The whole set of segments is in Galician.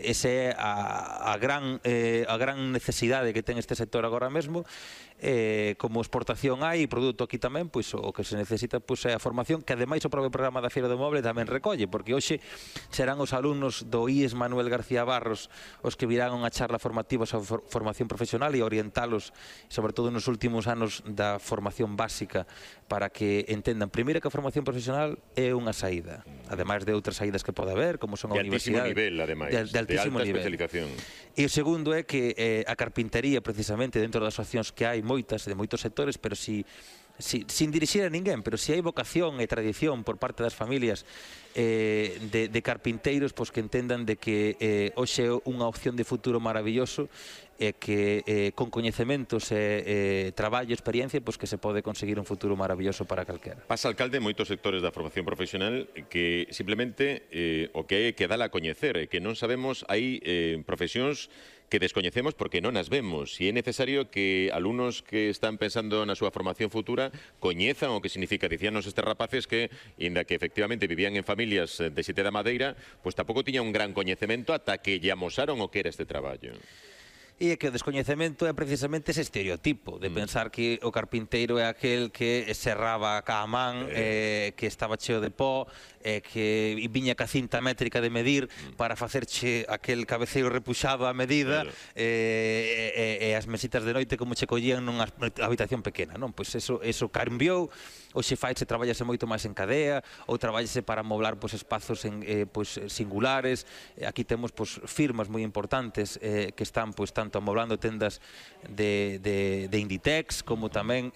esa é a gran necesidade que ten este sector agora mesmo. Como exportación hai, produto aquí tamén, pois o que se necesita pois é a formación, que ademais o propio programa da Feira do Moble tamén recolle, porque hoxe serán os alumnos do IES Manuel García Barros os que virán unha charla formativa sobre formación profesional e orientalos, sobre todo nos últimos anos da formación básica, para que entendan primeiro que a formación profesional é unha saída, ademais de outras saídas que pode haber, como son a universidade. De altísimo nivel, ademais, de altísimo alta nivel. Especialización. E o segundo é que a carpintería, precisamente, dentro das opcións que hai moitas, de moitos sectores, pero sin dirixir a ninguén, pero si hai vocación e tradición por parte das familias de carpinteiros, pois que entendan de que hoxe é unha opción de futuro maravilloso, e que con coñecementos e traballo, experiencia, pois que se pode conseguir un futuro maravilloso para calquera. Pasa, alcalde, en moitos sectores da formación profesional que simplemente o que é que dala a coñecer, que non sabemos, hai profesións que descoñecemos porque non as vemos, e é necesario que alumnos que están pensando na súa formación futura coñezan o que significa. Dicíanos estes rapaces que, inda que efectivamente vivían en familias de Sete da Madeira, pois tampouco tiña un gran coñecemento ata que lle amosaron o que era este traballo. E é que o descoñecemento é precisamente ese estereotipo de pensar que o carpinteiro é aquel que serraba a man, que estaba cheo de pó, que viña ca cinta métrica de medir para facerche aquel cabeceiro repuxado a medida, e as mesitas de noite como che collían nunha habitación pequena, non? Pois eso cambiou. Hoxe faise, traballase moito máis en cadea, ou traballase para amoblar espazos singulares. Aquí temos firmas moi importantes que están tanto amoblando tendas de Inditex, como tamén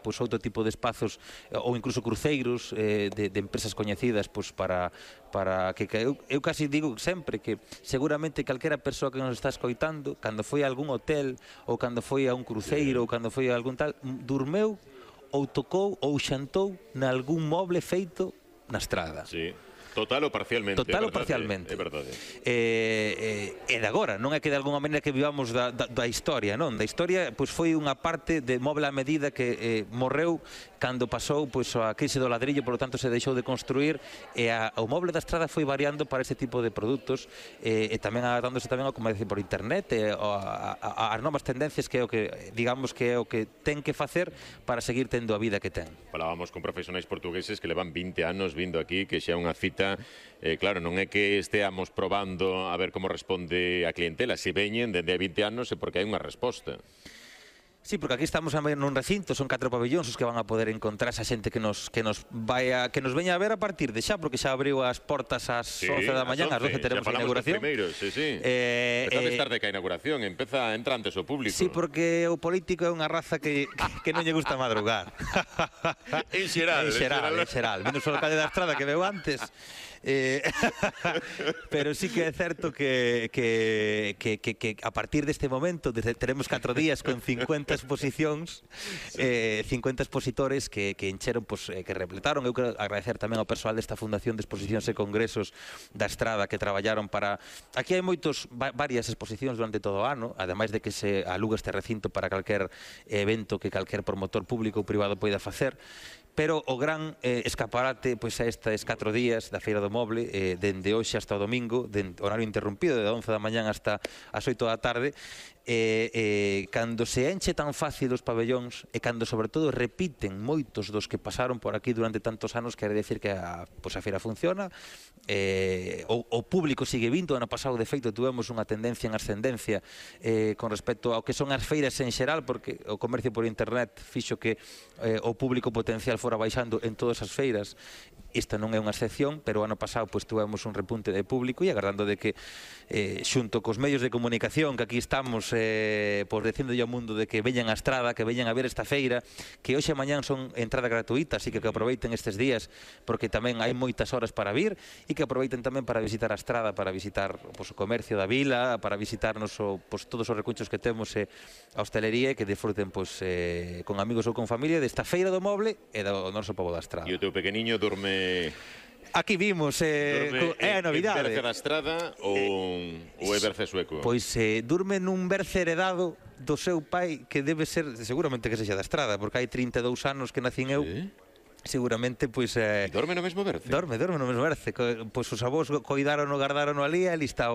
outro tipo de espazos, ou incluso cruceiros de empresas coñecidas, para que eu casi digo sempre que seguramente calquera persoa que nos está escoitando, cando foi a algún hotel, ou cando foi a un cruceiro, ou cando foi a algún tal, durmeu ou tocou ou xantou nalgún moble feito na estrada. Sí. Total ou parcialmente. Total ou parcialmente. É verdade. E de agora, non é que de alguma maneira que vivamos da historia, non? Da historia, foi unha parte de moble a medida que morreu cando pasou a crise do ladrillo, por lo tanto se deixou de construir, e o moble da estrada foi variando para este tipo de produtos, e tamén adaptándose tamén ao comercio por internet, as novas tendencias, que é o que, digamos, que é o que ten que facer para seguir tendo a vida que ten. Falábamos con profesionais portugueses que levan 20 anos vindo aquí, que xa é unha cita. Claro, non é que esteamos probando a ver como responde a clientela. Se veñen dende 20 anos é porque hai unha resposta. Sí, porque aquí estamos nun recinto, son 4 pabellóns os que van a poder encontrar esa xente que nos veña a ver a partir de xa, porque xa abriu as portas ás 11 da mañá, ás 12 teremos a inauguración. Empezades tarde que a inauguración, entra antes o público. Sí, porque o político é unha raza que non lle gusta madrugar. En xeral. Menos o alcalde da Estrada que veu antes. Pero sí que é certo que a partir deste momento teremos 4 días con 50 exposicións, 50 expositores que encheron, que repletaron. Eu quero agradecer tamén ao persoal desta Fundación de Exposicións e Congresos da Estrada, que traballaron para... Aquí hai varias exposicións durante todo o ano, ademais de que se aluga este recinto para calquer evento que calquer promotor público ou privado poida facer. Pero o gran escaparate é estes 4 días da Feira do Moble, dende hoxe hasta o domingo, de horario interrompido, de 11 da mañán hasta as 8 da tarde, cando se enche tan fácil os pabellóns, e cando, sobre todo, repiten moitos dos que pasaron por aquí durante tantos anos, quere decir que a feira funciona, o público sigue vindo. Ano pasado, de feito, tuvemos unha tendencia en ascendencia con respecto ao que son as feiras en xeral, porque o comercio por internet fixo que o público potencial fora baixando en todas as feiras. Esta non é unha excepción, pero o ano pasado tuvemos un repunte de público, e agardando de que xunto cos medios de comunicación que aquí estamos dicindolle ao mundo de que veñan a Estrada, que veñan a ver esta feira, que hoxe e mañán son entrada gratuita, así que aproveiten estes días, porque tamén hai moitas horas para vir, e que aproveiten tamén para visitar a Estrada, para visitar o comercio da vila, para visitarnos todos os recunchos que temos, a hostelería, e que disfruten con amigos ou con familia desta feira do moble e do noso pobo da Estrada. E o teu pequeniño dorme... Aquí vimos, é a novidade. É berce da Estrada ou é berce sueco? Pois durme nun berce heredado do seu pai, que debe ser, seguramente que sexa da Estrada, porque hai 32 anos que nacín eu. Seguramente, dorme no mesmo berce? Dorme no mesmo berce. Os avós guardaron ali, ali está